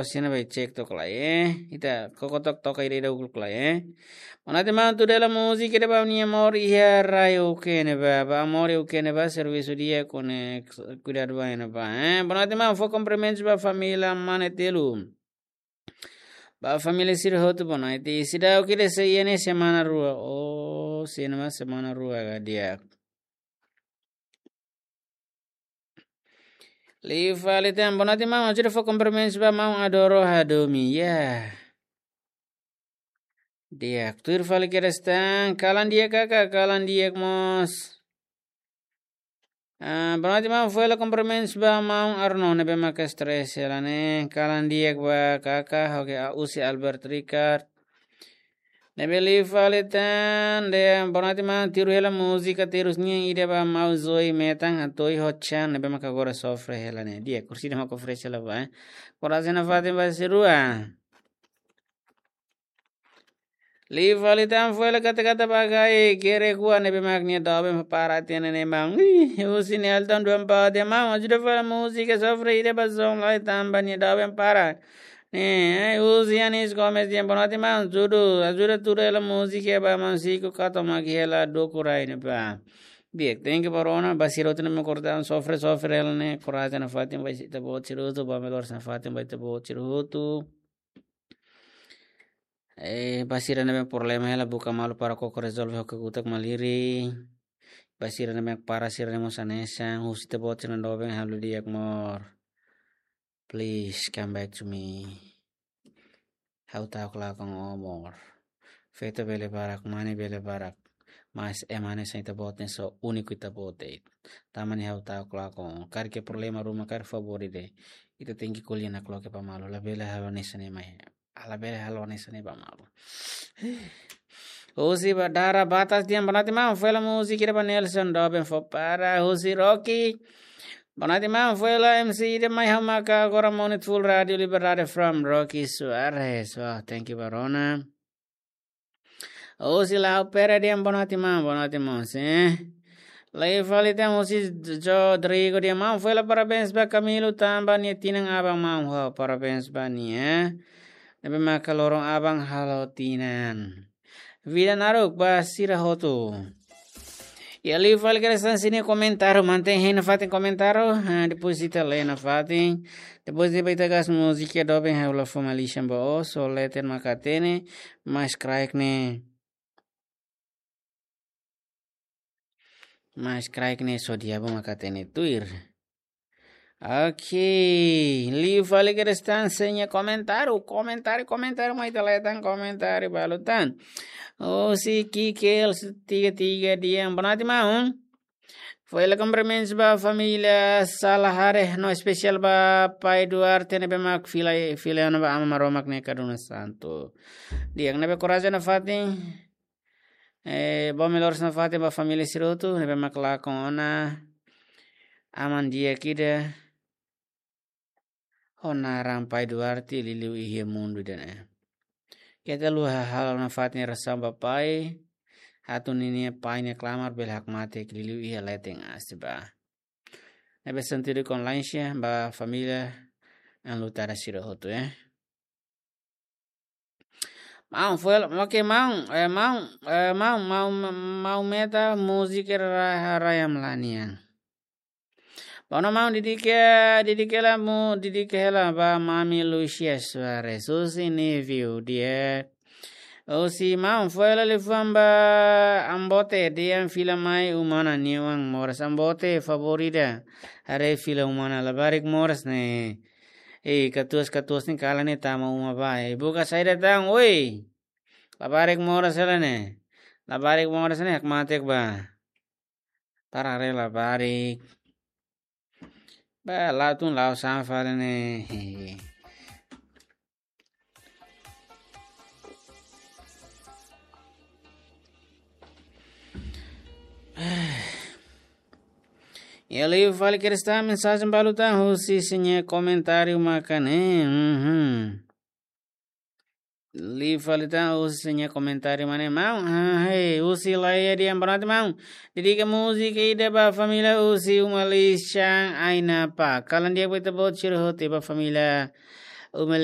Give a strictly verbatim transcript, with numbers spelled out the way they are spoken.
Sina bai cek tok lai, eh. Ita koko tok tok ida ida ukul lai, eh. Bonoite maun, tuir hela múzika ida ba nia amor iha rai ukene ba, ba amor ukene ba, servisu di'ak, kone kuidadu ba ena ba, eh. Bonoite maun, fó kumprimentus ba família mane telu. Ba família sira hotu bonoite. Seidauk ida sei iha ne'e semana rua. Oh, sina ma semana rua ka di'ak. Liu fali tan, bonoite maun, ajuda fó kumprimentus ba maun Adoro Hadomi, ya. Di'ak, tuir fali kedas tan, kalan di'ak kaka, kalan di'ak mós. Ah, bonoite maun, fó hela kumprimentus ba maun Arno, ne'ebé maka stress hela ne'e, kalan di'ak ba kaka, oke, ah, husi Albert Ricard. Ne'ebé liu fali tan, dehan bonoite maun, tuir hela múzika terus nian ida ba maun Zoe Metan, Antoi Hochan, ne'ebé maka agora sofre hela ne'e. Di'ak, kursi de maka fresh hela ba, eh. Korajen nafatin ba sira rua. Liu fali tan, fó hela kata-kata ba Gai, kere kua ne'ebé mak nia doben para tiene ne maun. Ih, husi Nelton Duampa dehan maun, ajuda fó hela múzika sofre ida ba zon lai tanba nia doben para. Ne'e, eh, husi Anis Gomes dehan bonoite maun, ajuda, ajuda tuir hela múzika ba maun Siko katak mak hela dukur ai ne'ebá. Di'ak, thank you ba rona, ba sira hotu ne'ebé mak kortan sofre, sofre hela ne'e, korajen nafatin ba ita-boot sira hotu, ba melhor nafatin ba ita-boot sira hotu. Eh, ba sira ne'ebé problema hela buka malu para koko rezolve ho kakutak malirin. Ba sira ne'ebé para sira ne'e mós hanesan, husi ita-boot sira doben halo di'ak amor. Please come back to me. Ha'u ta'uk lakon ó amor. Feto bele barak, mane bele barak. Mas ema hanesan ita-boot ne'e só úniku ita-boot de'it. Tanba ne'e ha'u ta'uk lakon ó. Karik iha problema ruma, karik favór ida. Ita tenke ko'alia nakloke ba malu. Labele halo hanesan ne'e mai. Ah, labele halo hanesan ne'e ba malu. Husi ba Dara Batas dehan bonoite maun, fó hela múzika ida ba Nelson doben fó para, husi Rocky. Bonoite maun, fó hela M C ida mai ha'u maka agora monitor full Rádio Liberdade from Rocky Soares. Wah, thank you ba rona. Husi Lau Pere dehan bonoite maun, bonoite maun, sin. Liu fali tan husi Rodrigo dehan maun, fó hela parabéns ba Camilo tanba nia tinan aban maun, ho parabéns ba nia. Ne'ebé maka loron aban halo tinan. Vida naruk ba sira hotu. Ya, liu fali kedas tan sira-nia komentáriu, mantein hein nafatin komentáriu, ah, depois ita lee nafatin, depois ita ba ita gas múzika doben ha'u la fó malisan ba ó, só leten mak hatene, mas kraik ne'e, mas kraik ne'e só diabu mak hatene tuir. Oke, liu fali kedas tan sira-nia komentáriu, komentáriu, komentáriu, mai ita lee tan komentáriu balu tan. Husi Kikel tiga tiga dehan bonoite maun. Fó hela kumprimentus ba família Salahare, no espesiál ba pai Duarte ne'ebé mak fila, fila ona ba Aman Maromak nia kaduna santu. Di'ak, ne'ebé korajen nafatin. Eh, ba melhor nafatin ba família sira hotu, ne'ebé mak lakon ona aman di'ak ida ho naran pai Duarte liuliu iha mundu ida-ne'e. Keta haluha halo nafatin orasaun ba pai, atu ninia pai nia klamar bele hakmatek liuliu iha leten aas ba. Ne'ebé sentidu kondoleensia ba família enlutada sira hotu, eh. Maun, fó hela, oke, maun, eh, maun, eh, maun, maun, maun Meta, múzika ra-, Rayamlania. Bonoite maun, dedika, dedika hela mu, dedika hela ba Mami Lucia Soares, husi Niviu, di'ak. Husi maun, fó hela liafuan ba Ambote, dehan fila mai uma ona nia oan moras. Ambote, favór ida, haree fila uma ona, labarik moras ne'e. Eh, katuas-katuas ne'e kalan ne'e tama uma ba. Eh, buka saida tan, oi. Labarik moras hela ne'e. Labarik moras ne'e hakmatek ba. Para haree labarik. Ba, la'o tun la'o sá fali ne'e. Ya, liu fali kedas tan mensajen balu tan husi sira-nia komentáriu maka ne'e. Mhm. Liu fali tan husi sira-nia komentáriu mane maun. Ah, hei, husi Laia dehan bonoite maun. Dedika múzika ida ba família husi uma lisan Ainapa. Kalan di'ak ba ita-boot sira hotu, ba família Uma